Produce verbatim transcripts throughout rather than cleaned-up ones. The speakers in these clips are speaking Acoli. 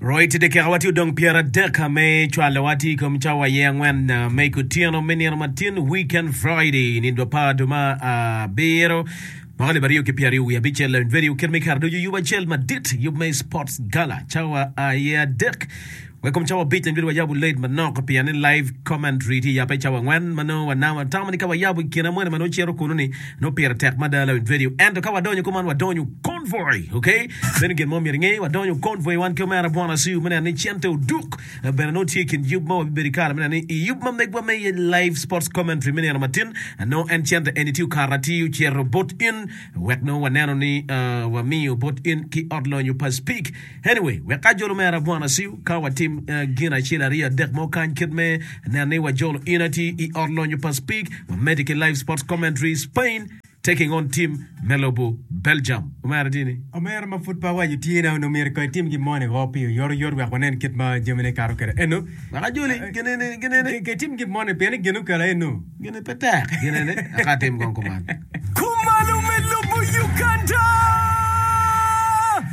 Right, dakika wa tye odong pyeradek me cwalowa tye i kom cawa aye angwen me kutyeno me nino matin weekend Friday nino apar dwe ma abiro mwaka alip aryo ki pyeraryo wiye abicel lawiny radio kit me kare ducu yub acel madit yub me sports gala cawa aye adek Wek kom cawa abic nyo wayabo late manok pien ni live commentary tye yape cawa angwen ma nongo wanamo watamo ni ka wayabo i kine moni ma nongo cito kunu ni nongo pire tek mada lawiny radio ento ka wadonyo kuman wadonyo convoy ok meno gin mo myero inge wadonyo convoy wan ki omera Bwana Siu me neno ni cente oduk bene nongo tye i kin yub ma wabibedo i kare me neno ni i yub ma megwa me live sports commentary me nino matin nongo en cente eni tye okato atir ocito bot in wek nongo waneno ni wamiyo bot in ki ot lonyo pa Speak Anyway, wek ajol omera Bwana Siu ka watim gin acel aryo adek mo kany kit me neno ni wajolo in atir i ot lonyo pa Speke, wamedde ki live sports commentary Spain taking on team me lobo Belgium. Omera tye ni? Omera ma pud pe awaco tye na onongo myero kong itim gin moni woko pi oyotoyot wek wanen kit ma jamine kato kwede. Eno. Wek ajoli ginene, ginene. Ke itim gin moni pien ni gin okelo eno. Gini pe tek, ginene, aka atim kong kuman. Kumalo me lobo Uganda!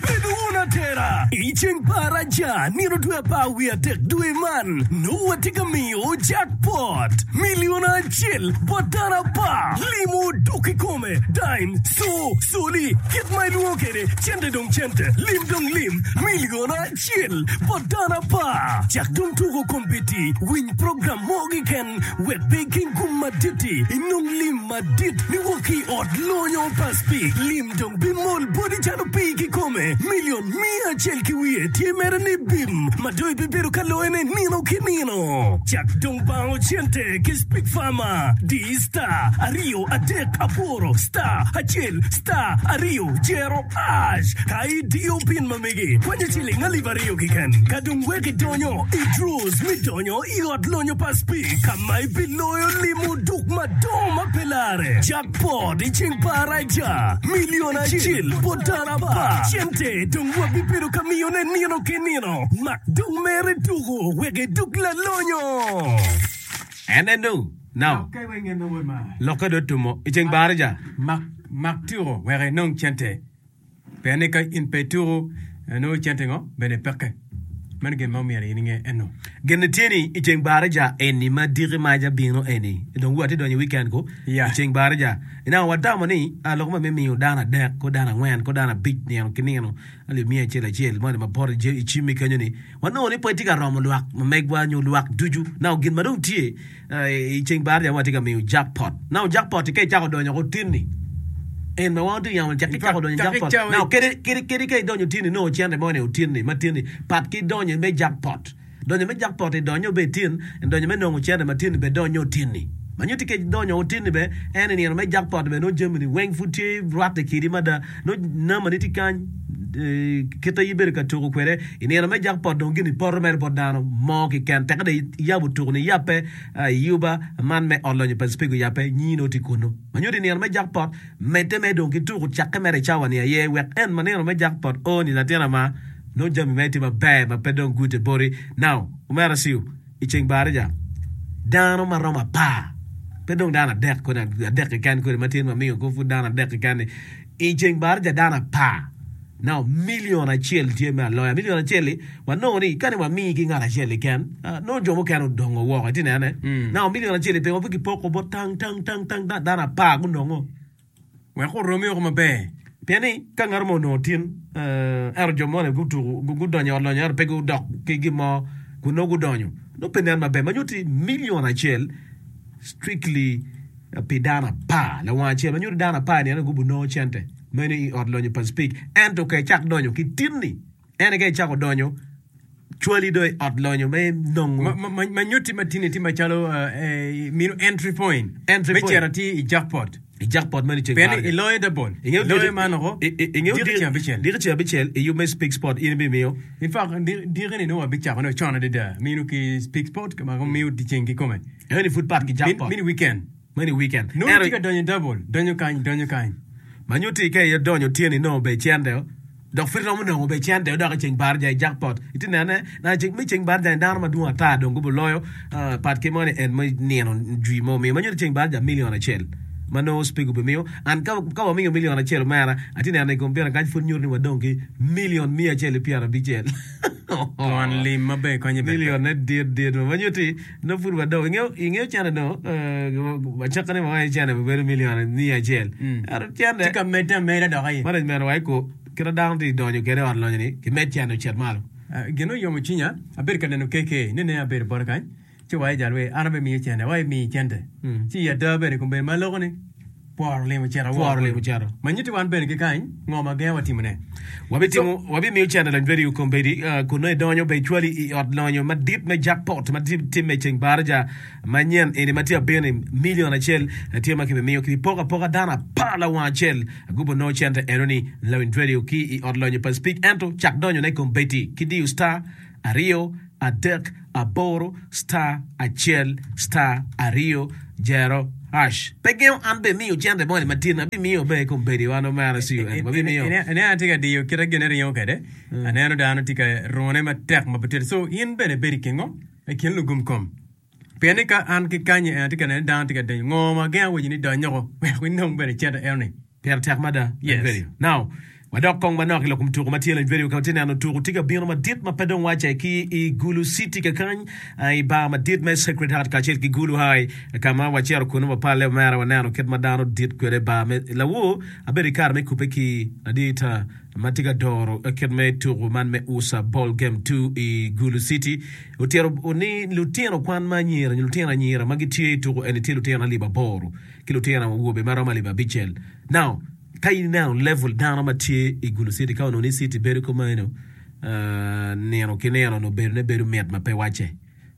Bed wun atera i ceng pa Araja nino dwe apar wiye adek dwe man nongo watye ka miyo jackpot milion acel bot dano apar. Limo dok kikome, dime, co, coli, kit ma ilwongo kwede, cente dong cente, lim dong lim, milion acel bot dano apar. Cak dong tuko kombeddi, winy program mo keken. Wek pe iking gum madit-ti, inong lim madit niwok ki i ot lonyo pa Speke. Lim dong bimol boti calo pii kikome. Milion miya acel ki wiye tye mere ni bim ma dong ibibedo ka loyone nino ki nino. Cak dong bango cente ki Speke Farmer. Di star aryo adek aboro star acel star aryo jero ash ka idiyo pin ma megi. Kwanyo ciling alip aryo keken ka dong wek idonyo i draws me donyo I ot lonyo pa Speke ka ma ibiloyo limo duk madongo ma pe larre, jackpot i ceng pa Araja, milion acel bot dano apar, cente dong wabibedo ka miyone nino ki nino. Mak dong mere tuko wek iduk lalonyo. En eno, now, lokke dong otumo i ceng pa Araja. Mak tuko wek inong cente. Pien ni ka in pe ituku, nongo cente ngo bene peke. Meno gin ma omyero in inge eno. Gin tye ni i ceng baraja eni ma diki maca bino eni, dong wa tye donyo i weekend ko, i ceng baraja. Now watamo ni lok ma me miyo dano adek, ko dano angwen, ko dano abic nino ki nino alip miya acel acel moni ma poto i cimmi kenyo ni, wanongo ni pe tye ka romo lwak ma megwa nyo lwak ducu. Now gin ma dong tye I ceng baraja watye ka miyo jackpot. Now jackpot-ti ka icako donyo ko tinni, en ma wan watye ka yamo cak icako donyo i jackpot. Now kadi kadi kadi ka idonyo tinni nongo cente moni otinni ma tinni pat ki donyo me jackpot. Donyo me jackpot-ti donyo be tin, donyo me nongo cente ma tinni be donyo tinni. Ma nyutti ka idonyo otinni be en i nino me jackpot be nongo jami ni weng pud tye rwatte kidi mada. Nongo namba ni tye kany kite ibedo ka tuko kwede i nino me jackpot dong gin ipoto mere bot dano mo keken teke dong iyabo tuko ni iyabbe iyuba man me ot lonyo pa Speke oyabbe nyingi nongo tye kunu ma nyuto i nino me jackpot medde mere dong ki tuko cakke mere i cawa ni aye wek en ma nino me jackpot o ni latin ama nongo jami mere tye maber ma pe dong gute boti now omera Siu i ceng baraja dano ma romo apar pe dong dano adek kodi adek keken kodi ma tye ma miyo ko pud dano adek keken ni i ceng baraja dano apar now million acel tye me aloya million acel-li wanongo ni kani wamii ki ngat acel keken nongo jo mukene odongo woko itye nene now million acel-li pingo pe kipoko bot tang tang tang tang dano apar gunongo. Wek oromi woko maber. Pien ni, ka ngat mo onongo tin, ento jo moni gutuko, gudonyo i ot lonyo ento pe gudok ki gin mo kun nongo gudonyo, nongo pe nen maber. Ma nyutti milion acel strictly pi dano apar lawang acel. Ma nyutti dano apar ni gubinongo cente meno i ot lonyo pa Speke. Ento ka icak donyo ki tinni, en aye ka icako donyo, cwali dong i ot lonyo me nongo. Ma nyutti ma tinni tye macalo mino entry point me cito atir i jackpot. I jackpot meno i ceng Pien iloyo double, iloyo man woko diki ceng abicel. Diki ceng abicel i yub me Speak Sport in ibimiyo. In fact, diki-ni nongo wabicakone con adada mino ki Speak Sport ma miyo dyeceng kikome. Eno-ni pud pat ki jackpot. Mini weekend. Meno i weekend. Nongo itye ka donyo i double, donyo kany, donyo kany. Ma nyutti ka idonyo otyeno inongo ber cente dok pud iromo nongo ber cente dok i ceng baraja i jackpot. Itye nene na me ceng baraja ni dano madwong ata dong gubiloyo pat ki moni en me nino jwi mo miyo. Ma nyutti ceng baraja million acel ma nongo Speke obimiyo. An ka wamiyo million acel omera atye neno i kompiuta kany pud nyuto ni wadong ki million miya acel ki pyerabicel. Twon lim maber konye bene. Million ne dit dit ma nyuti nongo pud wadong ingeyo ingeyo cene dong acakane ma wange cene bedo million miya acel ento cene Tye ka medde ameda dok aye. Management wa eko kit ma dano tye donyo kwede i ot lonyo ni kimed cene ocit malo. Gin oyomo cwinya abedo ka neno K K nene abedo bote kany ci wa ijal we an abimiyo cene wa imiyi cente ci i ada bene kombeddi ma aloko ni pworo lim ocito woko. Pworo lim ocito. Ma nyutti wan bene ki kany ngo ma gengo wa timone. Wabitimo wabimiyo cente lony bedo i kombeddi kun nongo idonyo bene icwali i ot lonyo madit me jackpot ma timme i ceng baraja manyen eni ma tye abino ni million acel tye ma kibimiyo kibipoko apoka dano apar lawang acel gubo nongo cente enoni lawiny radio ki i ot lonyo pa Speke ento cak donyone kombeddi ki diyo star aryo adek aboro star acel star aryo jero hash. Pe gengo an bene miyo cente moni matin abimiyo bene kombeddi wan omera C U N wabimiyo. Ineno atye ka diyo kite gine ringo kwede aneno dano tye ka rune matek ma pe tye so in bene ibedo i kin ngo i kin lugum kom pien ni ka an ki kanyi en atye ka neno ni dano tye ka donyo ngo ma gengo waci ni dony oko wek inong bene cente enoni. Pire tek mada. Yes. Video. Now, wadok kong manok i lok kom tuko ma tye lony video ka watye neno tuko tye ka bino madit ma pe dong wace ki i Gulu City kakany i bar madit me Sacred Heart kacel ki Gulu High ka ma wacito kunu wapalle omera waneno kit ma dano dit kwede bar me lawor abedo i kare me kubbe ki ladit ma tye ka doro kit me tuko man me U S A Ball Game two i Gulu City otito ni lutino kwan ma anyira nyo lutino anyira ma gitye i tuko eni tye lutino alip aboro ki lutino awobe ma romo alip abicel. Now, ka in ineno level dano ma tye i Gulu City, ka onongo ni city bedo kumeno, uh, nino ki nino onongo bedo ne bedo mit ma pe wacce.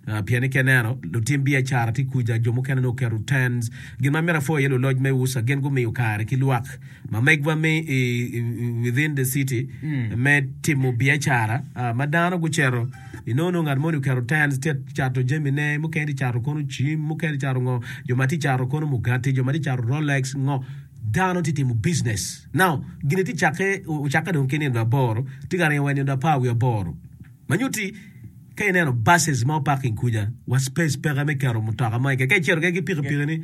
Uh, pien ni ka ineno lutim biacara tye kuca, jo mukene nongo oketo tents. Gin ma myero apwo iye luloc me U S A gin gumiyo kare ki lwak ma megwa me i, i, within the city me timo biacara uh, ma dano gucito inongo nongo ngat moni oketo tents tye cato jamine mukene tye cato kono cim mukene tye cato ngo jo ma tye cato kono mugati jo ma tye cato Rolex ngo dano tye timo business. Now gini tye cakke ocakke dong ki nino aboro tye ka ringo wa nino apar wiye aboro ma nyutti ka ineno buses ma oparking kuca wa space peke me keto mutoka mo keken ka icito keken ki pikipiki ni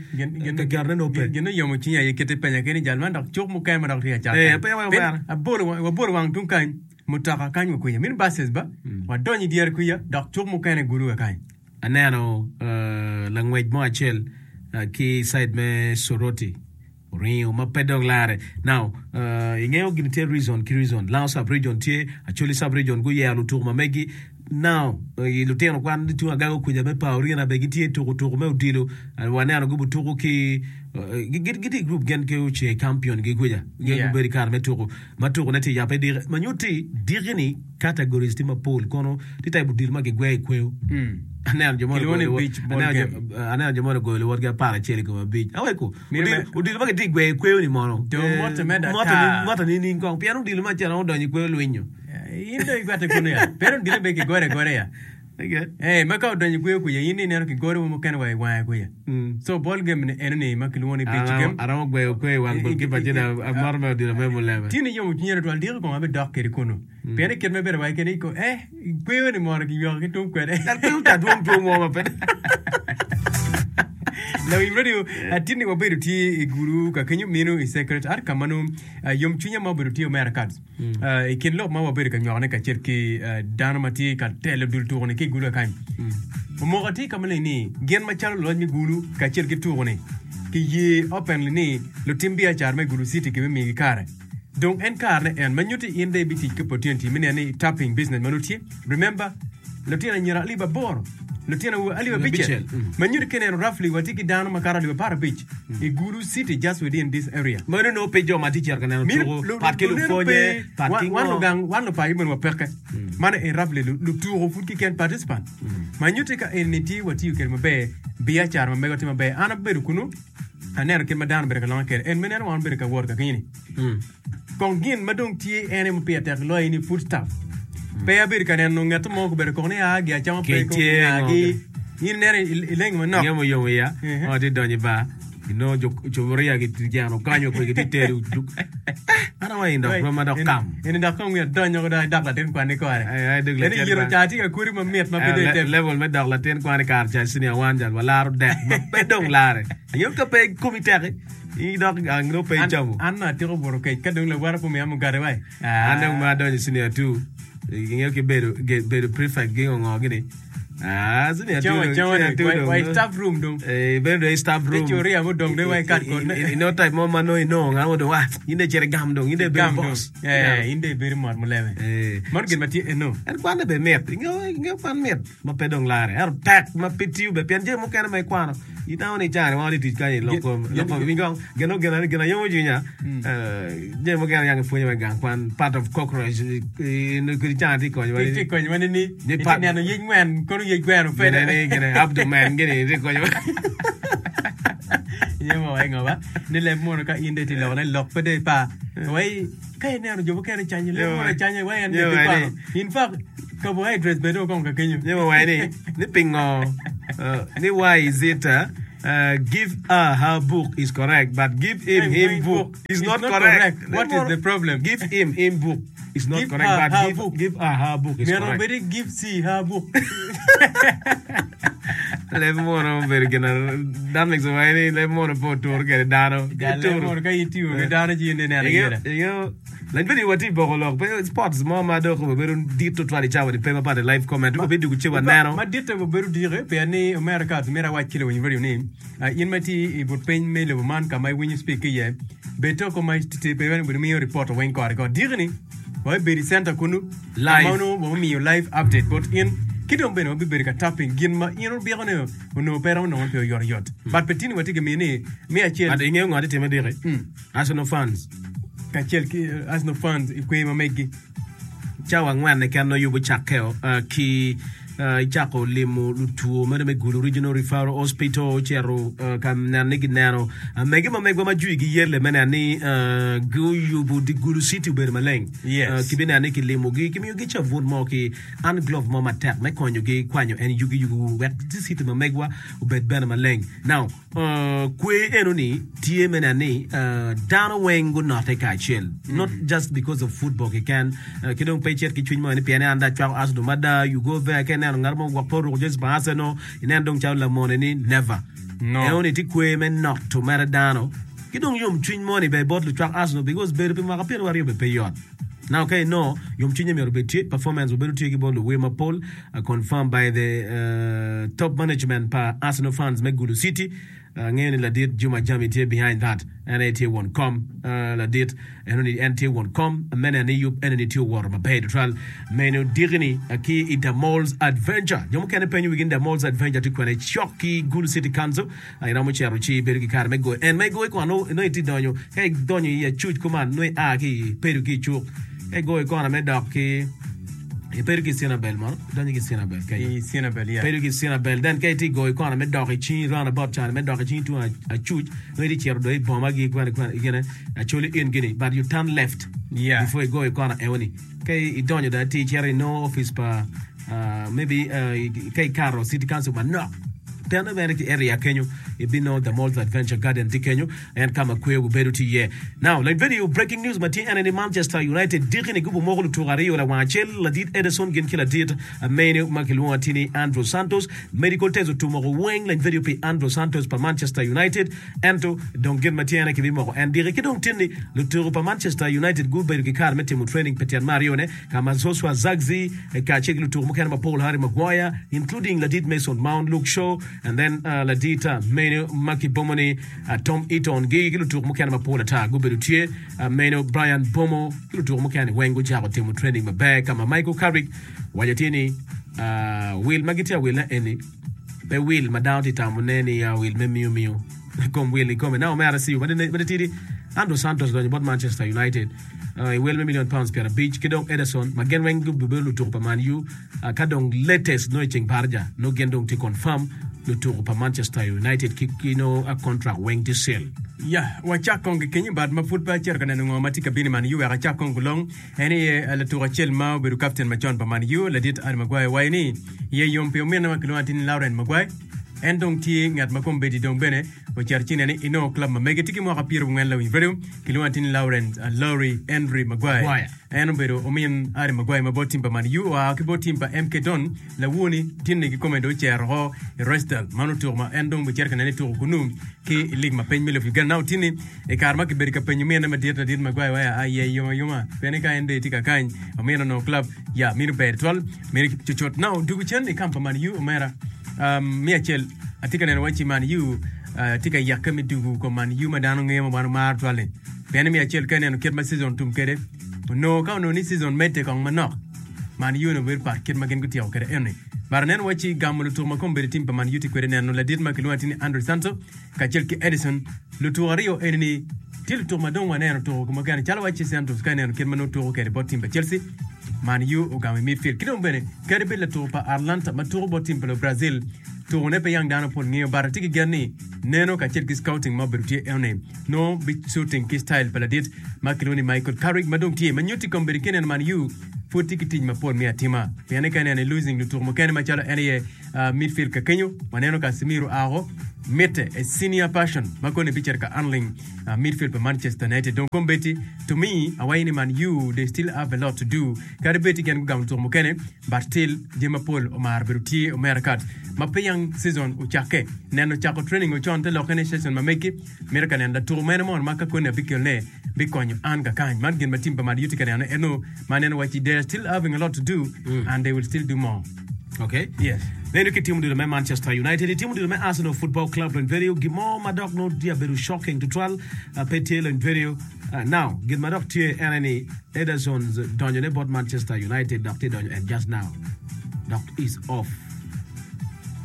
ka ketone nongo pe. Gin oyomo cwinya aye kit ipenya keni jal man dok cuk mukene ma dok tye ka cat Eh, kany. pe wa Pien omera. abolo wabolo wang tung kany mutoka kany wa kwica mini buses ba wadonyo i dyere kwica dok cuk mukene gulu wa kany. Aneno uh, langwec mo acel uh, ki side me Soroti oringo ma pe dong lare. Now, uh, ingeyo gini tye region ki region. Lango sub region tye, Acholi sub region guyero lutuko ma megi. Now, uh, lutino kwan tung agago kuca me Paorina be gitye tuko tuko me odilo. Uh, waneno gubu tuko ki uh, gitye i group gen ki oce champion gi kuca. Gen Yeah. gubedo i kare me tuko. Ma tuko ne tye yape diki. Ma nyutti diki ni categories tye mapol kono tye type odilo ma gigweyo i kweyo. Aneno jo mo Kilwongo ni beach ball aneno jo- game. aneno jo mo ogoyo luwotgi apar acel i kom abic. Aweko, Mito odilo me- odilo ma gitye gweyo i kweyo ni mono. Dong Eh, moto me moto data. ni- moto ni ning kong pien odilo ma acel odonyo i kweyo lwinyo. Eh, In dong igwate kunu ya. Pero odilo be kigore agora ya. Okay. Eh, ma ka odonyo i kweyo kuca in ineno kigoro mukene wa i wange kuca. Mm. So ball game ni eno ni ma kilwongo ni beach game. Aromo gweyo kweyo i wang goalkeeper ci dong amoro me odilo me muleme. Tye ni yomo cwinya tutwal diki kong abidok kede kunu. Pien i kit ma bedo wa kede ko eh kweyo ni mono kiyweko ki tung kwede. Dal kweyo ta dwong two mo ma pe. Lawiny radio atye ni wabedo tye i gulu ka kenyo mino i Sacred Heart ka ma nongo yom cwinya ma obedo tye omera cards. Uh, i kin lok ma wabedo ka nywakone kacel ki uh, dano ma tye ka telo dul tuko-ni ki i gulu kany. Omoko tye ka maleng ni gin macalo luloc me gulu kacel ki tuko-ni ki ye openly ni lutim biacara me Gulu City kibimiyogi kare. Dong en karene en ma nyutti in dong ibitic ki opportunity me neno ni tapping business ma nongo tye. Remember, lutino anyira alip aboro, lutino awobe alip abicel. Abicel, mm. Ma nyutti ka ineno roughly watye ki dano makato alip apar abic i Gulu City just within this area. Meno nongo pe jo ma tye cito ka neno Mino- tuko, lu- pat ki luneno lupwonye, pe- pat ki wan- wan ngo. lugang wan lupaco bene wapeke. Mano en roughly lu- lutuko pud kiken participant. Ma nyutti ka en ni tye watiyo kwede maber, biacara ma mego tye maber. An abedo kunu, aneno kit ma dano obedo ka longe kwede. En me neno wan obedo ka wot ka kenyo ni. Kong gin ma dong tye en aye ma pire tek loyo ni food stuff. Pe abedo ka neno ngat mo obedo koko ni aa gi acama pe Kec ko tye, ngagi. ngo. In ineno i- ileng manok. Inge muyomo iya, Mhm. ma tye donyo i bar, inongo jo cuburia gijeno kanyo kwe gitye tedo. An awa in dok rwom ma dok kam. En dok kong wiya donyo ko dok dok latin kwan ni kore. Ai, ai, dok En latin yiro kwan. ca tye ka kodi mamit ma pe Eh, dong le- item. Level me dok latin kwan i kare ca senior one jal walaro dek ma pe dong lare. Inge ka pe komi teki, in dok ang nongo pe An icamo. an atiko buto kec ka dong lawara pe omiya mugati wai. An dong ma adonyo i senior two, Ingeyo ki bedo bedo prefect gi ngo gini. Ah, sini Cama atudo, cama sini ni atudo. wa i staff room dong. Eh, bedo i staff room. Te curia mo dong de wa i kat kod. I no type mo ma no ino nga mo dong ah, inde cere gam dong, inde bedo Gam dong. boss. Eh, inde bedo mot muleme. Eh. Mano gin ma tye eno. En kwan be mit, ingeyo ingeyo kwan mit ma pe dong lare. Ento tek ma pe tiyo be pien jami mukene ma ikwano. Ineno ni cani ma wadhi tic kany i lok kom lok kom wingo gino gino gino yomo cwinya. Eh, jami mukene yang ipwonyo wa i gang kwan part of cockroach kodi cani tye konyo wa Tye konyo wa ni ni Ni itye pat- neno yec ngwen kono yec gweno gine pede. ni gine abdomen gini tye konyo wa. Iye mo wa ingo ba ni leb mono ka in de tye loko ne lok pe de pa. Wai ka ineno jo mukene canyo leb Yo, mono canyo wai en de yo, pe wai kwano. In fact carbohydrates bene okong ka kenyo. Nyemo wa ni ni pingo uh, ni why is it uh, uh, give her her book is correct but give him Him him him book book is is not not correct. correct. What is the problem? Give him him book is not Give correct her but her give, book. give her her book is Myero correct. obedi give C her book. Leb mono obedo gina that makes wa ni leb mono po tur kede dano. Ja leb mono ka itiyo ki dano ci in ineno Ingeyo gira. ingeyo lany bedi wati boko lok pe sports mo ma dok obedo dit tutwal i cawa ni pe mapat i live comment obedo dwogo ce waneno. Ma ditte obedo dike pien ni omera ka myero awac ki lawiny radio ni ah, in ma tye i but piny me lobo man ka ma iwinyo speak ki iye bed toko ma tye pe bene miyo report weng kore ko dike ni wabibedo i center kunu Live. ma onongo wamiyo live update bot in ki dong bene wabibedo ka tapping gin ma in obiko ni onongo pe romo nongo pi oyotoyot but pe tini watye ka miyo ni me acel But ingeyo ngo tye time dike Arsenal fans kacel ki eh, Arsenal fans i kwer ma megi cawa angwen keken nongo yubo cakkeo uh, ki uh, icako limo lutwo meno me Gulu Regional Referral Hospital ocito uh, ka neno ni gineno uh, mege ma megwa ma jwi giyelle me neno ni uh, guyubo di Gulu City obedo maleng Yes. uh, kibineno ni kilimogi kimiyogi cabun mo ki hand glove mo matek me konyogi kwanyo en yugi yugi wek di city ma megwa obed bene maleng now uh, kwe eno ni tye me neno ni uh, dano weng gunote kacel not just because of football keken uh, ki dong pe icit ki cwiny mo ni pien ni an da acwako Arsenal mada you go there ka ineno ngat mo gwok pe oruko jezi pa Arsenal ineno dong calo lamone ni never No. eno ni tye kwe me noto mere dano ki dong yom cwiny mo ni be bot lucwak Arsenal because bedo pi mwaka pyeraryo aryo be pe yot Now, okay, no, yom cwinye myero obed tye performance obedo tye ki bot luwer mapol uh, confirmed by the uh, top management pa Arsenal fans me Gulu City uh, ngeyo ni ladit Juma Jami tye behind that en aye tye won kom uh, ladit eno ni en tye won kom mene ni yub eno ni tye owoto maber tutwal meno dikini uh, ki i The Malls Adventure jo mukene penyo wigi ni The Malls Adventure tye kwene cok ki Gulu City Council uh, iromo cito ci ibedo ki kare me goyo en ma igoyo kona no no itye donyo ka idonyo i acuc kuman no ia ki i pedo ki i cuk ka igoyo kona me dok ki ipedo ki Cinabel mono idonyo ki Cinabel kenyo i Cinabel yeah. pedo ki Cinabel then ka itye goyo kona me dok i cingi roundabout cani me dok i cingi tung acuc no itye cito do i boma gi kwene kwene gine Acholi Inn gini but you turn left Yeah. before igoyo kona eoni ka idonyo da ti icito i no office pa uh, maybe uh, ka ikato city council manok tene bene ki area kenyo ibino the Malls Adventure Garden tye kenyo en kama kwe obedo tye iye now like video breaking news ma tye ene ni Manchester United diki ni gubo moko lutuko aryo lawang acel ladit Ederson gin ki ladit mene ma kilwongo atir ni Andrew Santos medical test otumoko weng lany video pi Andrew Santos pa Manchester United ento dong gin ma tye ene kibimoko en diki ki dong tin ni lutuko pa Manchester United gubedo ki kare me timo training pi tyen me aryone kama Joshua Zirkzee kacel ki lutuko mukene mapol Harry Maguire including ladit Mason Mount Luke Shaw and then uh, ladit uh, meno ma kibomo ni uh, Tom Eaton gi ki lutuko mukene mapol ata gubedo tye uh, meno Brian Bomo ki lutuko mukene weng gucako timo training maber kama Michael Carrick waco tye ni uh, wil ma gitye awilne eni pe wil ma dano tye tamone ni uh, wil me miyo miyo kom wil i kome na omera siu made tidi Andrew Santos donyo bot Manchester United uh, i wel me million pounds piero abic ki dong Ederson ma gin weng gubedo lutuko pa Man U uh, ka dong latest no i ceng parja no gin dong tye confirm lutuko pa Manchester United ki, ki no a contract weng tye seal Ya, wacak kong ki kenyo but ma pud pe acito ka neno ngo ma tye ka bino i Man U wek acak kong gulong en aye eh, latuko acel ma obedo captain macon pa Man U ladit Harry Maguire waco ni iye yom pi ominne ma kilwongo atir ni Lauren Maguire En dong tye ngat ma kombeddi dong bene ocito ci nene inongo club ma mege tye ki mwaka pyerabongwen lawiny radio kilwongo atir ni Lawrence uh, Laurie Henry Maguire. Maguire. En obedo omin Harry Maguire ma bot tim pa Man U oa ki bot tim pa M K Don lawoni tinni kikome dong ocero oko i Rochdale man otuko ma en dong bicito ka nene tuko kunu ki i lig ma piny me lobo Uganda. Now tinni i kare ma kibedo ka penyo mine madit ladit Maguire waya a iye yom ayoma pien ka en dong tye ka kany omine onongo club ya mino ber twal mino cucut. Now dugu cen i kamp pa Man U omera um, mi acel atye ka neno wacci Man U uh, tye ka yakke me dugu kom Man U ma dano ngeyo ma wan omaro twal-li pien ni mi acel ka ineno kit ma season tum kwede onongo ka onongo ni season medde kong manok Man U onongo bedo pat kit ma gin gutyeko kwede eni but aneno wacci gamo lutuko ma kombeddi tim pa Man U tye kwede neno ladit ma kilwongo atir ni Andre Santos kacel ki Edison lutuko aryo eni ni tye lutuko ma dong waneno tuko mukene calo wacci Santos ka ineno kit ma nongo tuko kwede bot tim pa Chelsea Man U ogamo i midfield ki dong bene kadi bed latuko pa Atalanta ma tuko bot tim pa lo Brazil tukone pe yang dano pol ngeyo but atye ki gen ni neno kacel ki scouting ma obedo tye eni no bi shooting ki style pa ladit ma kilwongo ni Michael Carrick ma dong tye ma nyutti kombeddi ki ineno Man U pud tye ki tic mapol me atima pien ka ineno i losing lutuko mukene macalo en aye uh, midfield ka kenyo waneno Casemiro ako mitte a senior person ma koni bicito ka handling uh, midfield pa Manchester United dong kombeddi to me awaco ni Man U they still have a lot to do kadi bed ti gin gugamo lutuko mukene but still jami mapol omaro bedo tye omera kat ma pe yang season ocakke neno cako training ocon te lokke ni season ma megi mito ka neno latuko mene mo ma ka koni abikelone bikonyo an kakany man gin ma tim pa Man U tye ka neno eno ma neno wacci they are still having a lot to do and they will still do more. Okay. Yes. Neno ki tim odilo me Manchester United, i tim odilo me Arsenal Football Club lony video gin mo ma dok nongo tye abedo shocking tutwal uh, pe tye lony video uh, now gin ma dok tye en ni Ederson donyone bot Manchester United dok tye donyo and just now dok is off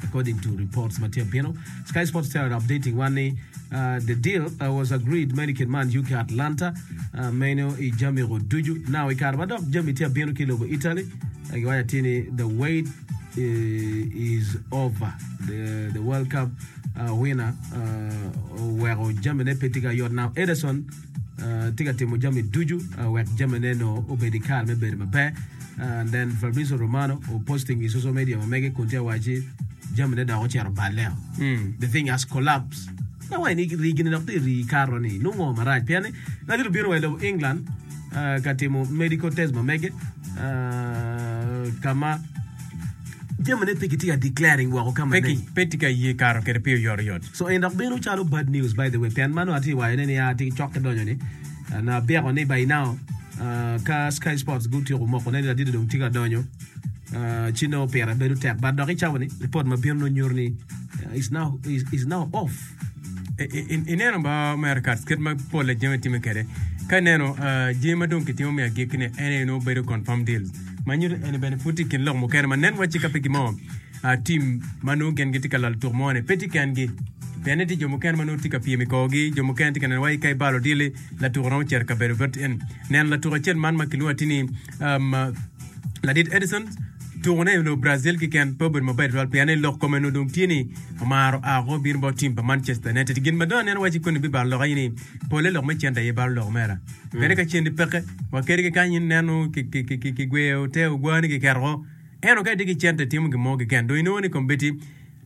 according to reports ma tye bino. Sky Sports tell updating one ni uh, the deal uh, was agreed many kin Man U ki Atalanta uh, meno i jami go ducu. Now i kare ma dok jami tye abino ki lobo Italy uh, giwaco atir ni the wait uh, is over. The, the World Cup uh, winner uh, oweko jamine pe tye ka yot. Now Ederson uh, tye ka timo jami ducu uh, wek jamine no obed i kare me bedo maber. Uh, and then Fabrizio Romano o posting i social media ma mege kun tye waci jamine dok ocito baleo. Mm. The thing has collapsed. Na wai ni rigine dok tye ri karo ni nungo marac pien ni ladit obino wa i lobo England uh, ka timo medical test ma mege uh, kama jamine pe gitye ka declaring woko ka Pe maleng. ki- pe tye ka ye karo kwede pi oyotoyot. So en dok bino calo bad news by the way pien mano atye wacone ni atye cok ki donyo ni uh, na byeko ni by now uh, ka Sky Sports gutyeko moko ne ni ladit dong tye ka donyo uh, ci nongo pire bedo tek but dok i cawa ni report ma bino nongo nyuto ni uh, is now is, is now off. I- i- ineno ba omera kat kit ma pol jami time kwede ka ineno uh, jami ma dong kitimo me agikki-ni en aye nongo bedo confirm deals ma nyuto eni bene pud tye i kin lok mukene ma nen wacci ka pe gimo uh, team ma nongo gin gitye ka lalo tuko mo-ni pe tye kengi pien ni tye jo mukene ma nongo tye ka pyem i korgi jo mukene tye ka neno wai ka ibalo dili latuko romo cito kabedo bot en neno latuko acel man ma kilwongo atir ni um, ladit Edison tukone i lobo Brazil keken pe obedo maber tutwal pien ni lok kome no dong tye ni omaro ako bino bot tim pa Manchester United gin ma dong aneno wacci koni bibalo lok aye ni pole lok me cente aye balo lok omera pien ka cendi peke wa kadi ki kany ineno kigweyo te ogwani kiketo ento ka itye ki cente timo gin mo keken dong inongo ni kombeddi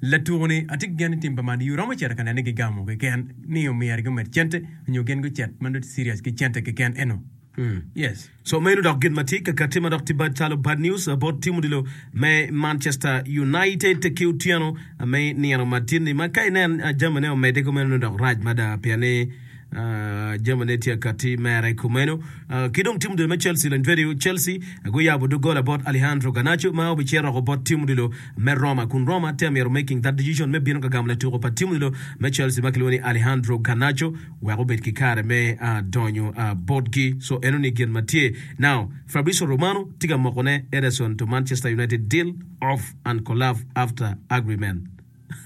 latuko ni atye ki gen ni tim pa Man U romo cito ka nene gigamo keken ni omyero gumed cente nyo gin gucet ma nongo serious ki cente keken eno. Yes. So meno dok gin ma tye ka kati ma dok tye bad calo bad news uh, bot tim odilo me Manchester United ki otyeno uh, me nino matin-ni ma ka inen uh, jamine omedde kumeno dok rac mada pien ni uh, jamine tye kati mere kumeno uh, ki dong tim odilo me Chelsea lony video Chelsea uh, guyabo doggola bot Alejandro Garnacho ma obicito oko bot tim odilo me Roma kun Roma tye myero making that decision me bino ka gamo latuko pa tim odilo me Chelsea ma kilwongo ni Alejandro Garnacho wek obed ki kare me uh, donyo uh, botgi. So eno ni gin ma tye now Fabrizio Romano tye ka mokone Ederson to Manchester United deal off and collapse after agreement.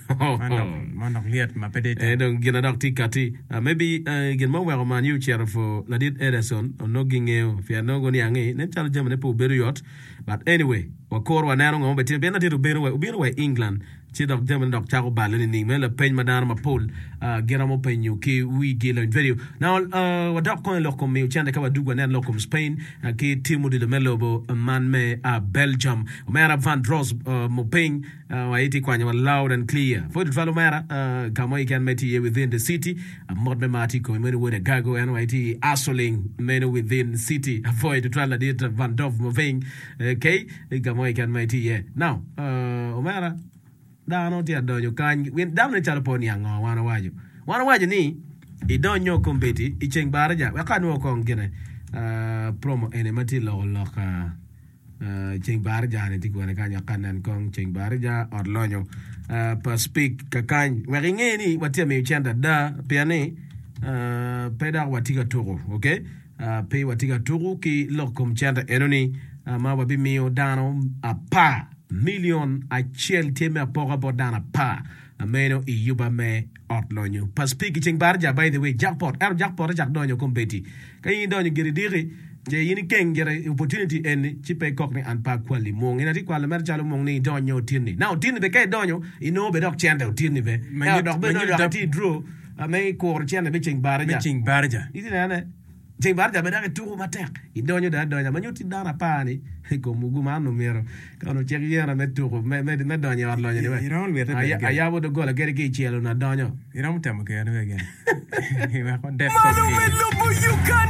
Man dok man dok lyet ma pe dit. Eh, dong gin adok tye kati uh, maybe uh, gin ma oweko Man U ocito for ladit Ederson onongo gingeyo pien nongo guniang ni nen calo jamine pe obedo yot but anyway wakoro waneno ngo ma betime pien ladit obino wa obino wa i England Ci dok jamine dok cako balle nining? Meno lapeny ma dano mapol giromo penyo ki wigi. Lony Vedio. Now, wadok kong i lok kom miyo cente ka wadug wanen lok kom Spain ki tim odilo me lobo man me Belgium. Omera Van Dros Mupiny wa itye kwanyo wa loud and clear. Pwod tutwal omera ka mo keken ma itye iye within the city. Mot me mar tye i komi meno wod Agago en wa itye i hustling meno within city. Apwoyo tutwal ladit Van Dov Mupiny. Okay, ka mo keken ma itye iye. Now, omera dano tye adonyo kany. Dano ne calo pe oniang ngo wan owaco. Wan owaco ni idonyo kombeddi i ceng baraja wek ka anwo kong gine promo eni ma tye loko lok ceng baraja ni tye kwene kany wek ka anen kong ceng baraja ot lonyo pa speak kakany wek inge ni watye ka miyo cente ada pien ni pe dok watye ka tuko okay pe watye ka tuko ki lok kom cente eno ni ma wabimiyo dano apar million acel tye me apoka bot dano apar meno i yuba me ot lonyo pa speak i ceng baraja by the way jackpot ento jackpot cak donyo kombeddi ka in idonyo gire diki ce in ikeng gire opportunity eni ci pe ikok ni an pe akwali mung in atye kwalo mere calo mung ni idonyo otinni na otinni be ka idonyo inongo be dok cente otinni be ento dok be nongo dok itye i draw me kuro cente me ceng baraja me ceng baraja itye nene Ceng baraja bene dok ituko matek, idonyo dong adonya ma nyutti dano apar ni i kom mugu man onongo myero ka onongo cik yena me tuko me donyo i ot lonyo ni Iromo lwite bene gire. Ayabo doggola kadi ki i celo onongo adonyo. Iromo temo kene bene gire. Wek wadet Malo kom me gire. lobo Uganda.